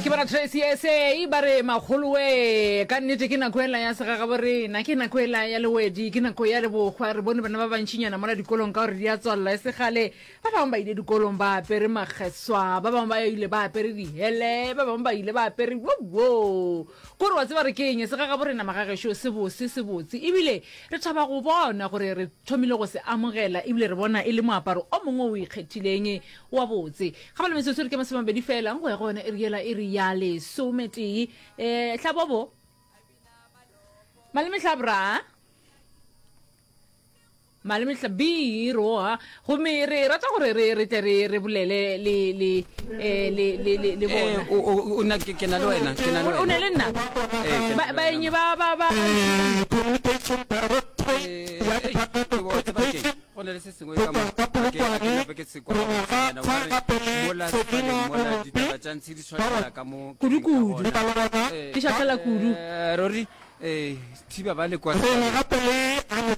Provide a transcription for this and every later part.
Ke bona Tracy SA ba re makgolowe ka nnete ke nako ela ya segagabo rena ke nako ela ya lewedi ke nako ya lebokgwa re bone bana ba bantšinyana mola dikolong ka gore di a tswalela e segale ba bangwe ba ile dikolong ba apere makgeswa ba bangwe ba ile ba apere dihele ba bangwe ba ile ba apere wo kore wa tseba re ke eng segagabo rena magagešo se bose se botse ebile re thaba go bona gore re thomile go se amogela ebile re bona e le moaparo o mongwe o ikgethileng wa botse. Ga ba le metsotso e re ke masomabedi fela go ya go yona iri yela iri ya lesometee. Um hlabobo maleme hlabra maleme hlabiro gomme re rata gore re re tle re re bolele le le eh, le le le le bona eh, o na ke na le wena ke na le wena o ne le nna eh, ba baenye ba ba ba Go na le se sengwe ka mo ga ke ga ke nape ke se kwa gabotsenyana o ka re mola sefaleng mola ditaba tša ntshe di šwahlela ka mo ke leng ka Kudu-kudu. gona. Eh, Di šwahlela kudu. eh, ruri eh, thiba ba le kwa sefaleng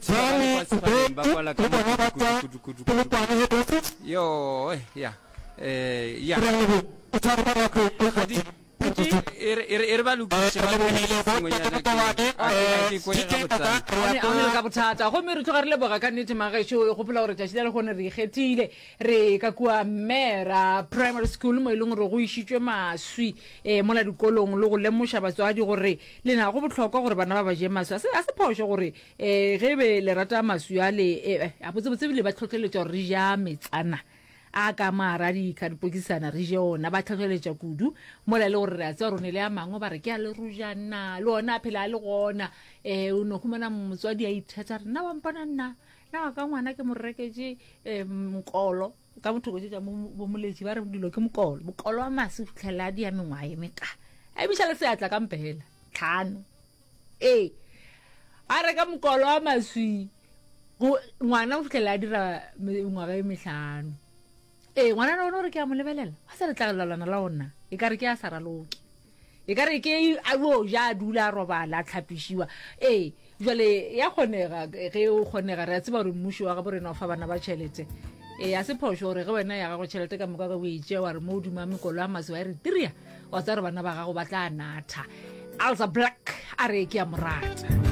thiba ba le kwa sefaleng ba kwala ka mo kudu kudu kudu kudu kudu yo eh, ya eh, ya ga di E re, e re, e re ba lokiše, ba lokiše se sengwenyana ke, a ke, a ke kwe gabotsana. Gone a le ka bothata. Gomme re tloga re leboga ka nnete magešo. E gopola gore tšatši la lehono re ikgethile. Re ka kua Mera Primary School mo e leng gore go išitšwe maswi eh, mola dikolong le go lemoša batswadi gore lena go bohlokwa gore bana ba ba je maswi. A se, a se phošo gore eh, ge be le rata maswi ale eh, a botsebotse ebile ba hlohleletša gore re ja metsana. A ka mara dikadipokisana re je ona, ba tlhohleletša kudu mola e le gore re a tseba gore o ne le a mangwe ba re ke a lerojana le ona a phela a le gona. Um o no humana motswadi a ithetsa re nna wa mpona nna nna wa ka ngwana ke mo reketše um mokolo ka bothoko tše tša bo moletši ba re dilo ke mokolo mokolo wa mase o fitlhelela a dia mengwaga e meka a emiša le seatla ka mpela tlhano ee a reka mokolo wa maswi Go, ngwana o fihlela a dira mengwaga e mehlano. Ee, ngwana ona gore ke a mo lebelela, wa sa letlagelelwana la ona, e ka re ke a sa raloke. E ka re ke a yo ja a dula a robala a tlhapišiwa. Ee, jwale ya kgonega ge o kgonega re a tseba gore mmušo wa gabo rena o fa bana ba tšhelete. Ee, a se phošo gore ge wena ya gago tšhelete ka moka ge o e tšea wa re mo godimo ga mekolo ya maswi wa e re tiria, wa tseba gore bana ba gago ba tla natha. Alza Black a re ke a mo rata.